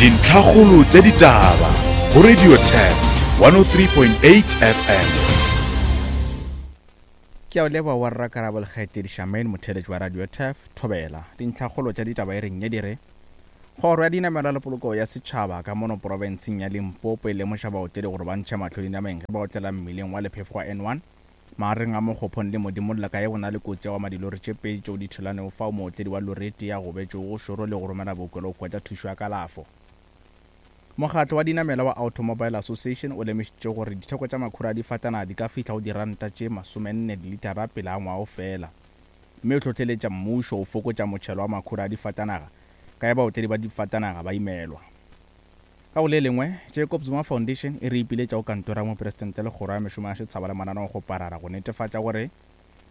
Dintlhakgolo tša ditaba go Radio Turf 103.8 FM. Ke a o leboga wa rra Karabo le kgaetšedi Charmaine motheeletši wa Radio Turf, Thobela. Dintlhakgolo tša ditaba e reng ye di re, Kgoro ya Dinamelwa le Poloko ya Setšhaba ka mono porofenseng ya Limpopo e lemoša baotledi gore ba ntšhe mahlo dinameng ge ba otlela mmileng wa lephefo wa N1 Magareng a Mokgophong le Modimolla ka ge go na le kotsi ya go ama dilori tše pedi tšeo di thulanego fao mootledi wa lori e tee a gobetšego go šoro le go romela bookelo go hwetša thušo ya kalafo. Mokgatlo wa dinamela wa Automobile Association o lemošitše gore ditheko tša makhura a difatanaga di ka fihla go diranta tše masomenne dilitara pele ga ngwaga o fela mme o hlohleletša mmušo go fokotša motšhelo wa makhura a difatanaga ka ge baotledi ba difatanaga ba imelwa. Ka go le lengwe, Jacob Zuma Foundation e re ipiletša go Kantoro ya Mopresidente le Kgoro ya Mešomo ya Setshaba le Mananeokgoparara go netefatša gore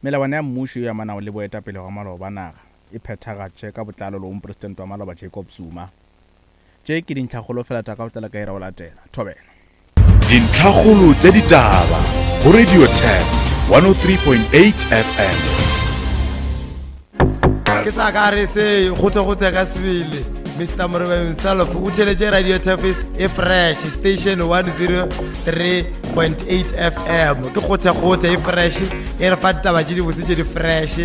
melawana ya mmušo yeo e amanago le boetapele gwa maloba ba naga e phethagatše ka botlalo le go Mopresidente wa maloba Jacob Zuma. Tše ke dintlhakgolo fela tša ka go tlela ka ira go latela. Thobela. Dintlhakgolo tša ditaba go Radio Turf 103.8 FM. Ke sa ka re se gotse gotse ka sebele Mr Moreba himself o theletše Radio Turf e fresh station 103.8 FM ke gotse gotse e fresh e re fa ditaba tše dibotse tše di fresh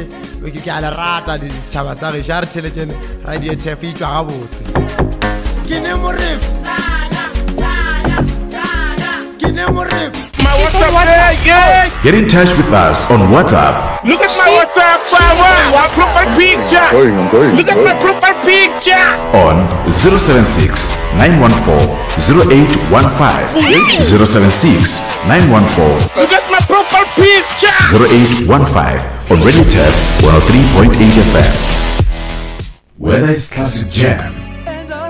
ke a le rata setšhaba sa gešo a re theletšene radio tf e tšwa gabotse ke ne morebo ke ne morebo Get in touch with us on WhatsApp. Look at my WhatsApp, my profile picture. Going, I'm going. Look at my profile picture. On 076 914 0815. 076 914 Look at my profile picture. 0815 on Radio Turf 103.8 FM. Whether it's classic jams,